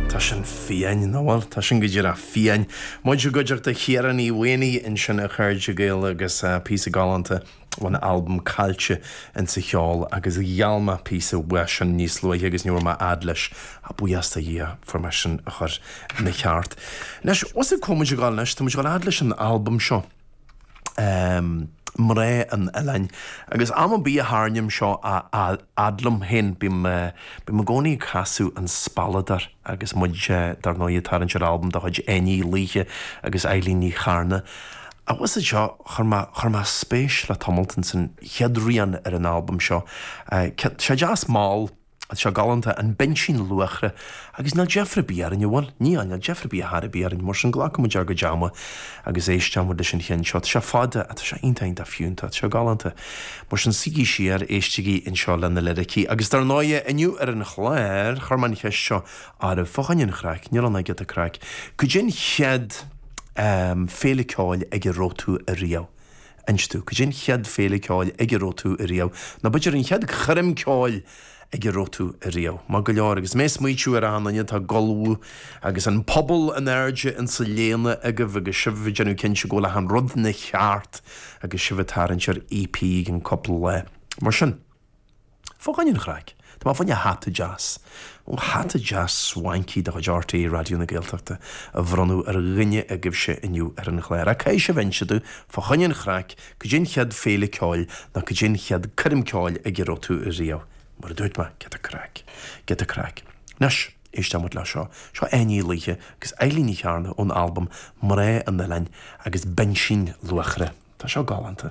Tá sin fiáin, nach bhfuil? Tá sin go díreach fiáin. Muid i gcuideachta Chiara Ní Mhaonaigh ansin a chairde Gael agus píosa galánta ón albam Caillte insa Cheol agus gheall mé píosa uaidh sin níos luaithe agus ní raibh mé fhad leis ach buíochas do Dhia fuair mé sin a chur ina cheart. Anois, bhfuil a fhios agat cá bhfuil muid ag dul anois, tá muid ag dul fhad leis an albam seo. Mná an Oileáin. Agus am ar bith a tharraingím seo a fhad liom féin, bím bím i gcónaí ag casadh An Spealadóir agus muid, dar ndóigh, ag tarraingt ar albam de chuid Áine Uí Laoithe agus Eilín Ní Charna. Ach bhfuil a fhios agat seo, chuir mé, chuir mé spéis le tamalt ins an chéad rian ar an albam seo. Tá sé deas mall. Tá sé galánta, an Binsín Luachra, agus níl deifir ar bith orainn, an bhfuil? Níl, níl deifir ar bith ar chor ar bith orainn, mar sin glacfaidh muid ár gcuid ama agus éisteoidh muid leis an cheann seo. Tá sé fada, ach tá sé iontach, iontach fiúntach, tá sé galánta. Mar sin, suígí siar, éistigí anseo le na liricí. Agus dar ndóighe, inniu ar an chlár, chuir mé an cheist seo oraibh, fá choinne an chraic, níl ann ach giota craic, cad é an chéad féile ceoil ag a raibh tú ariamh? Inis domh, cad é an chéad féile ceoil ag a raibh tú ariamh, nó b'fhéidir an chéad choirm ceoil ag a raibh tú ariamh. Maith go leor, agus mé ag smaoitiú ar achan duine atá ag ullmhú agus an puball in airde insa léana agaibh agus sibh ag déanamh cinnte go bhfuil achan rud ina cheart agus sibh ag tarraingt ar EP i gcionn cúpla lá. Mar sin. Fá choinne an chraic, tá mé fá choinne hata deas, ó hata deas swanky de chuid RTÉ Raidió na Gaeltachta a bhronnadh ar dhuine agaibhse inniu ar an chlár. Ach caithfidh sibh inse domh, fá choinne an chraic, cad é an chéad féile ceoil nó cad é an chéad coirm ceoil ag a raibh tú riamh. Mar a dúirt mé, giota craic. Giota craic. Anois, éisteoidh muid le seo. Seo Áine Uí Laoithe agus Eilín Ní Chearna ón albam Mná an Oileáin agus Binsín Luachra. Tá seo galánta.